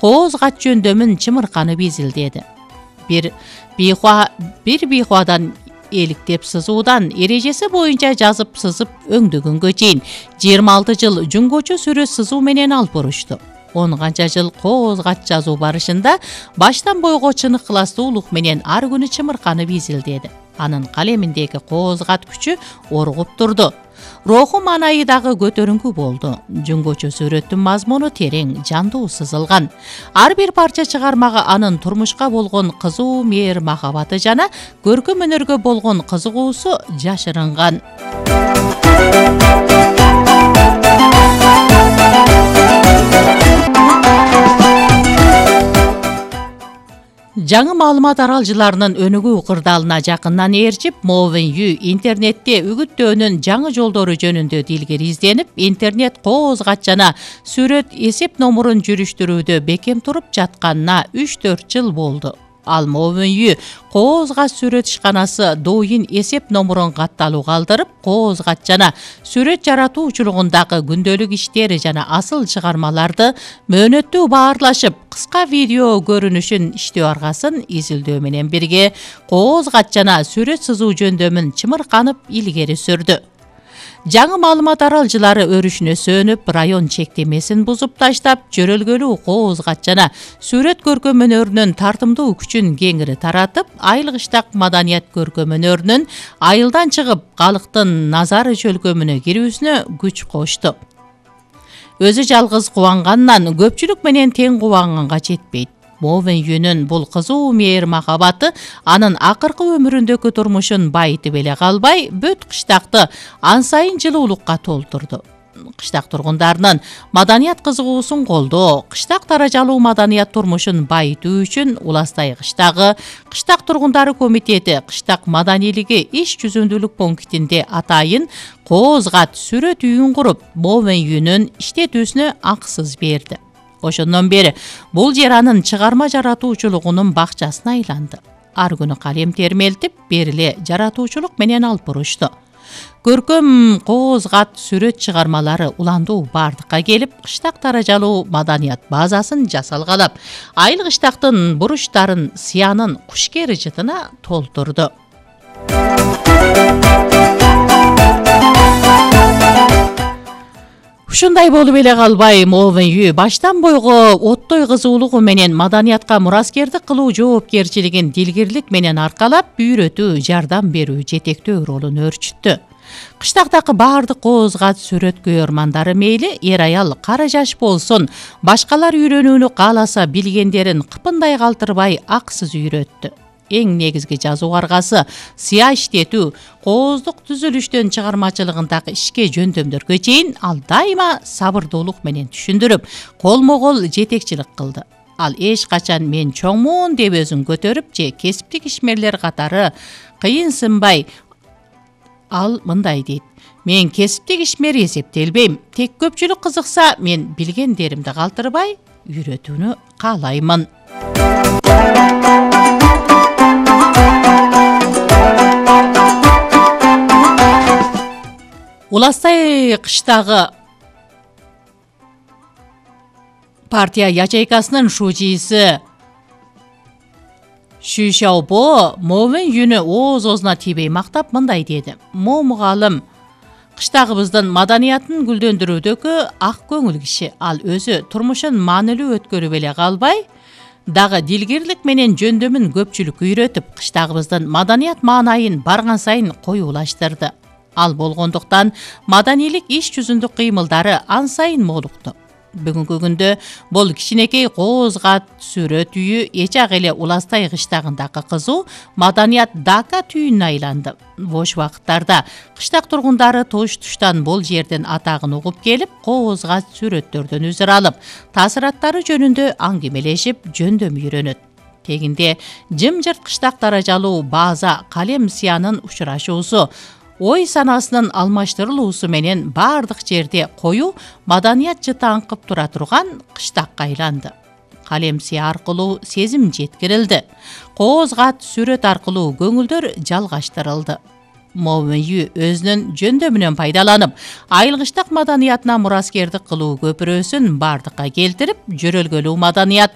кооз кат жөндөмүн чымырканып изилдеди. Бир бийхуадан эликтеп сызуудан эрежеси боюнча жазып сызып өңдөгөнгө чейин 26 жыл жунгочу сүрөт сызуу менен алып барышту. 10 канча жыл кооз кат жазуу барышында баштан бойго чынык ыластуулук менен ар күнү чымырканып изилдеди. Анын калеминдеги кооз кат күчү оргуп турду. Руху маанайы дагы көтөрүңкү болду. Жунгочу сүрөттүн мазмуну терең, жандуу сызылган. Ар бир парча чыгармага анын турмушка болгон кызуу мээр махабаты жана көркөм өнөргө болгон кызыгуусу жашырынган. Жаңы маалымат аралжыларынын өнүгүү кырдаалына жакындан ээрчип, Мо Вен Ю интернетте үгүттөөнүн жаңы жолдору жөнүндө дилгир изденип, интернет кооз кат жана сүрөт эсеп номурун жүрүштүрүүдө бекем туруп жатканына 3-4 жыл болду. Ал Мо Вен Ю кооз кат сүрөт ишканасы Douyin эсеп номурун катталууга алдырып, кооз кат жана сүрөт жаратуучулугундагы күндөлүк иштери жана асыл чыгармаларды мөөнөттүү баарлашып, кыска видео көрүнүшүн иштөө аргасын изилдөө менен бирге кооз кат жана сүрөт сызуу жөндөмүн чымырканып илгери сүрдү. Жаңы маалымат аралжылары өрүшүнө сөнүп, район чектемесин бузуп таштап, жөрөлгөлүү кооз кат жана сүрөт көркөм өнөрүнүн тартымдуу күчүн кеңири таратып, айыл кыштак маданият көркөм өнөрүнүн айылдан чыгып, калктын назары жөлкөмүнө кирүүсүнө күч кошту. Өзү жалгыз кубангандан көпчүлүк менен тең кубанганга жетпейт. Мо Вен Юнун бул кызуу мээр махабаты анын акыркы өмүрүндөгү турмушун байытып эле калбай, бүт кыштакты ан сайын жылуулукка толтурду. Кыштак тургундарынын маданият кызыгуусун колдоо, кыштак даражалуу маданият турмушун байытуу үчүн Уластай кыштагы Кыштак тургундары комитети кыштак маданийлиги иш жүзүндүүлүк пунктинде атайын кооз кат сүрөт үйүн куруп, Мо Вен Юнун иштетүүсүнө акысыз берди. Ошондон бери бул жер анын чыгарма жаратуучулугунун бакчасына айланды. Ар күнү калем термелтип, бериле жаратуучулук менен алып бурушту. Көркөм кооз кат сүрөт чыгармалары уландуу бардыкка келип, кыштак даражалуу маданият базасын жасалгалап, айыл кыштактын буруштарын, сыянын кушкер жытына толтурду. Ушундай болуп эле калбай, Мо Вен Ю баштан бойго оттой кызуулугу менен маданиятка мураскердик кылуу жоопкерчилигин дилгирлик менен аркалап, үйрөтүү, жардам берүү, жетектөө ролун өөрчүттү. Кыштактагы баардык кооз кат сүрөт көйөрмандары мейли эр аял, кара жаш болсун, башкалар үйрөнүүнү кааласа билгендерин кыпындай калтырбай аксыз үйрөттү. Эң негизги жазуу аргасы сыя иштетүү, кооздук түзүлүштөн чыгармачылыгындагы ишке жөндөмдөргө чейин ал дайыма сабырдуулук менен түшүндүрүп, колмо-кол жетекчилик кылды. Ал эч качан мен чоңмун деп өзүн көтөрүп же кесиптик ишмерлер катары кыйынсынбай. Ал мындай дейт: мен кесиптик ишмер эсептелбейм, тек көпчүлүк кызыкса, мен билгендеримди калтырбай үйрөтүүнү каалаймын. Уластай кыштагы партия ячейкасынын шужийси Шү Шаобо Мо Вен Юнү ооз-оозуна тийбей мактап мындай деди: Мо мугалим кыштагыбыздын маданиятын гүлдөндүрүүдөгү ак көңүл киши. Ал өзү турмушун маанилүү өткөрүп эле калбай, дагы дилгирлик менен жөндөмүн көпчүлүккө үйрөтүп, кыштагыбыздын маданият маанайын барган сайын коюулаштырды. Ал болгондуктан маданийлик иш жүзүндүк кыймылдары ан сайын молукту. Бүгүнкү күндө бул кичинекей кооз кат сүрөт үйү эч ак эле Уластай кыштагындагы кызуу маданият Дака түйүнүнө айланды. Бош убакыттарда кыштак тургундары туш-туштан бул жердин атагын угуп келип, кооз кат сүрөттөрдөн үзүр алып, таасыраттары жөнүндө аңгемелешип, жөндөм үйрөнөт. Тегинде жымжырт кыштак даражалуу база, калем сыянын учурашуусу, ой санасынын алмаштырылуусу менен бардык жерде коюу маданият жыты аңкып тура турган кыштакка айланды. Калем сыя аркылуу сезим жеткирилди. Кооз кат сүрөт аркылуу көңүлдөр жалгаштырылды. Мовин Ю өзүнүн жөндөмүнөн пайдаланып, айылгычтык маданиятына мураскердик кылуу көпүрөсүн бардыкка келтирип, жөрөлгөлүү маданият